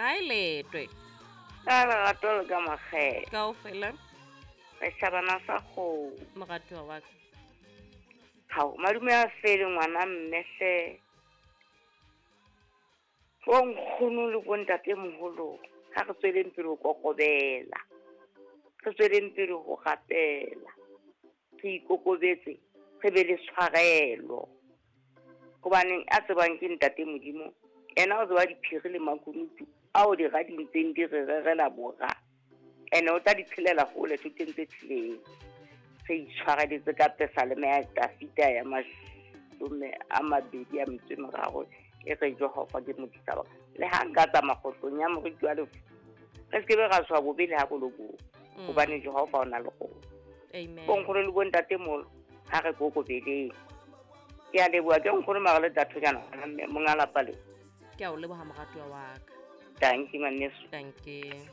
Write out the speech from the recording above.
Hi Letwe. Ka lerato le ka makgetho. Kaofela. Re shabana sa kgomo. Moratuwa wa ka. Hao, madume a fele ngwana mme hle. Bo nkgono le bo ntatemoholo ha re tsweleng pele ho kokobela. Re tsweleng pele ho rapela. Re ikokobetse, re be le tshwarelo. Hobaneng a tsebang ke ntate Modimo, yena o tseba diphiri le makunutu ao dira di ntseng di re rerela bora. Ene o tla di tshelela hole thoteng tse thileng. Re itshwareletse ka pesaleme ya Dafita ya 23 e re Jehova ke modisa wa ka. Le ha nka tsamaya kgohlong ya moriti wa lefu, re se ke be ra tshoha bobe le ha bo le bong, hobane Jehova o na le rona. Amen. Bonkgono le bontatemoholo ha re kokobeleng. Ke a leboha ke nkgono mara le tathonyana ngwana mme monga lapa le. Ke a o leboha moratuwa wa ka. Dankie ngwaneso. Dankie.